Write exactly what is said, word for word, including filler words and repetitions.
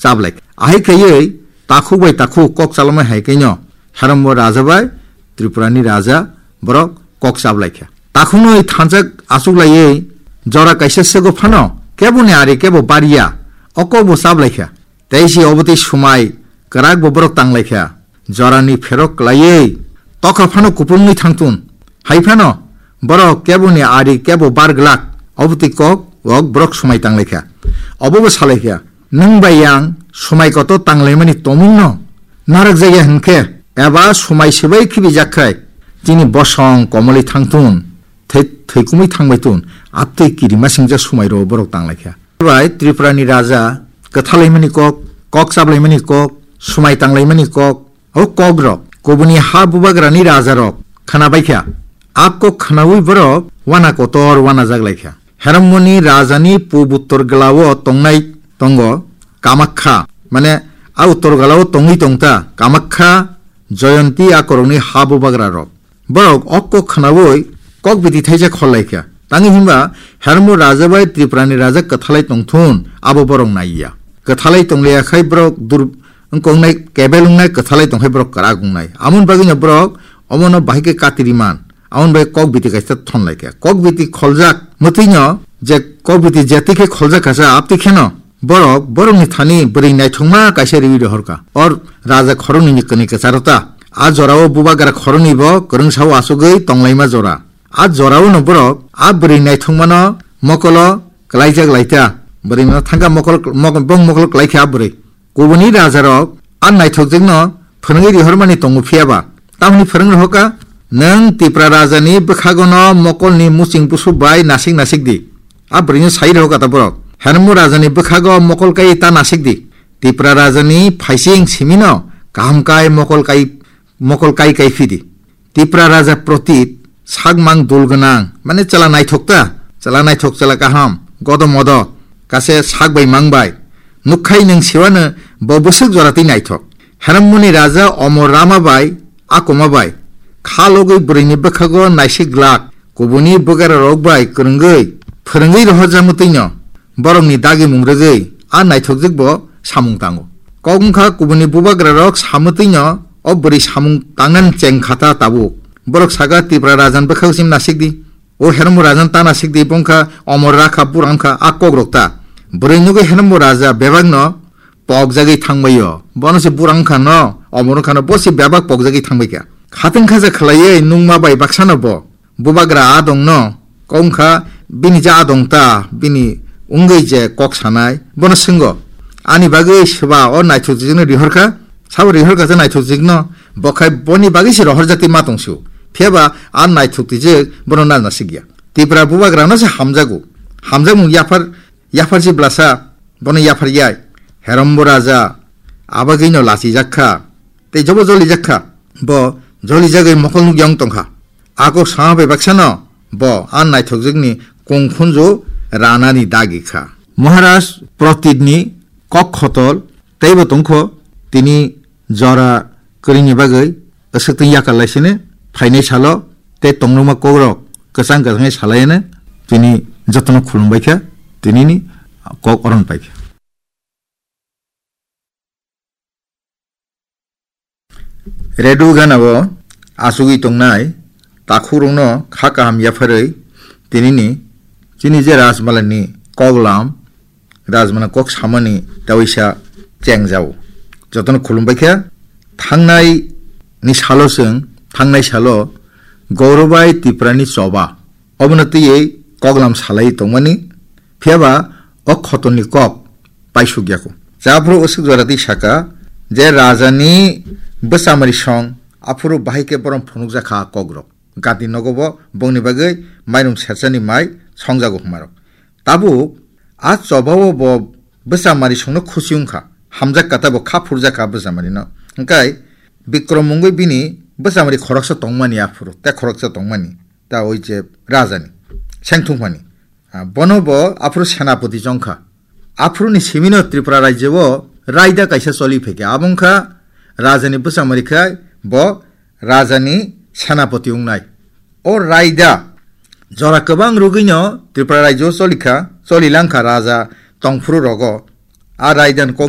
chablai kha. Ahai khaiwi takhuk bai takhuk kok chalomai hai khaino Herombo raja bai Tripurani raja borok kok chablai kha. Takhuknwi thansa achuklaiwi jora kaisa sego phano keboni ari kebo barya o kokbo chablai kha. Tei si obotwi swmai kwrakbo borok tanglaikha. Jorani pherok kwlaiwi tokha phano kupulungwi thangthun. Hai phano borok keboni ari kebo bar glak. Obotwi kok ok borok swmai tanglaikha. Obobo salaikha, "Nwng bai yang swmai kotor tanglaimani tongmungno narwkjakya hwnkhe eba swmai swbai khibijak khai chini bosong komolwi thangthun." Thai-, thaikumui thangbai tun, aptwi kirima singcha swmairo borok tanglaikha. Bai Tripurani raja kwthalaimani kok, kok chablaimani kok, swmai tanglaimani kok, o kokrok kubuni ha bubagrani rajarok khwnabaikha. A kok khwnaui borok wana kotor wana jaglaikha. Heromboni rajani pub uttor glao tongnai tongo Kamakkha, mane a uttor glao tongwi tongta Kamakkha, Jayanti a korokni ha bubagrarok. Borok o kok khwnaui kok biti thaisa khollaikha. Tangwi hwnba Herombo raja bai Tripurani raja kwthalai tongthun abo borok naiya. Kwthalai tongliya khai borok dur-, wngkha wngnai, kebel wngnai, kwthalai tongkhai borok kwrak wngnai. Amoni bagwino borok omono bahai khe katiriman. Amoni bai kok biti kaisa thonlaikha. Kok biti kholjak mwtwino je kok biti jetwi khe kholjak kasa aptwi kheno borok, borokni thani bwrwi naithokma kaisa riwi rohorkha. Or raja khoroknwini kwnwi kwcharo ta. A jorao bubagra khoroknwi bo kwrwngsao achugwi tonglaima jora. A jorao no borok a bwrwi naithokmano mokolo klaijak laita. Bwrwi no thangkha mokol, mok-, bong mokol klaikha a bwrwi. Kubuni rajarok a naithokjwkno phwrwngwi rihormani tongo, phiyaba tamni phwrwng rohorkha, "Nwng Tipra rajani bwkhagono mokolni muching busu bai nasik nasik di." A bwrwino sai rohorkha ta borok, "Herombo rajani bwkhago mokol kai ta nasik di. Tipra rajani phaising simino kaham kai mokol kai, mokol kai kai phi di." Tipra raja Protit, sakmang dul gwnang, mane chwla naithok ta, chwla naithok, chwla kaham, godo modo, kase sak bai mang bai. Nukkhai nwng siwano bo bwswk jora twi naithok. Heramboni raja Omor Rama bai, Akoma bai, kha logwi bwrwini bwkhago naisik glak, kubuni bwgararok bai kwrwngwi, phwrwngwi rohorjakma twino. Borokni dagimung rwgwi a naithokjwk bo samung tango. Kok wngkha kubuni bubagrarok samwtwino o bwrwi samung tangnani cheng kha ta tabuk. Borok saka Tipra rajan bwkhak sim nasik di. O Herombo rajan ta nasik di, bo wngkha Omor Rakha, bura wngkha a kokrok ta. Bwrwi nugwi Herombo raja bebakno pokjagwi thangbaio. Bono se bura wngkha no, Omor wngkha no, bo se bebak pokjagwi thangbaikha. Khatungkha je khlaiwi nungma bai baksano bo. Bubagra adongno kok wngkha, bini je adong ta, bini wngwi je kok sanai, bono swngo, "Ani bagwi swba o naithok twijwkno rihorkha, sabo rihorkha je naithok twijwkno, bo khai boni bagwi se rohorjak twi ma tong sio. Phiyaba a naithok twijwk bono na nasikya." Tipra bubagrano se hamjago, hamjakmung yaphar, yaphar si blasa, bono yaphar yai. Herombo raja abagwino lachijak kha, tei jobo jolijak kha, bo jolijagwi mokol nukya wng tongkha. A kok sama bai baksano bo a naithokjwkni kungkhunju ranani dagi kha. Maharaj Pratitni kok khotol teibo tongkho, tini jora kwrwini bagwi aswktwng yakar laisini phainai salo tei tongrokma kokrok kwchang kwchangwi salaiano tini jotono khulumbaikha, tinini kok oron paikha. Redu ganao achugwi tongnai takhukrokno kha kaham yapharwi tinini chini je Rajmalani koklam, Rajmala kok samani tawisa chengjao. Jotono khulumbaikha. Thangnai ni salo chwng, thangnai salo Gaurobai Tiprani choba. Obono twiwi koklam salai tongmani, phiyaba o khotolni kok paisukya kho. Chaphuru usuk jora twi saka je rajani bwchamari song, aphuru bahai khe borom phunukjak kha kokrok. Gati nogo bo bongni bagwi mairum serchani mai songjago hwnmarok. Tabuk a chobao bo bwchamari songno khusi wngkha, hamjak kha tabo kha phurjak kha bwchamarino. Hwnkhe Bikrom mungwi bini bwchamari khoroksa tongmani aphuru, tei khoroksa tongmani. Ta oi je rajani seng thungmani. Ah, bono bo aphuru senapoti chongkha. Aphuruni simino Tripura rajyo o raida kaisa choli phaikha. Abo wngkha rajani bwchamari khai bo rajani senapoti wngnai. O raida jora kwbang rwgwino Tripura rajyo o cholikha, choli langkha raja tongphuru rogo. A raida ni kok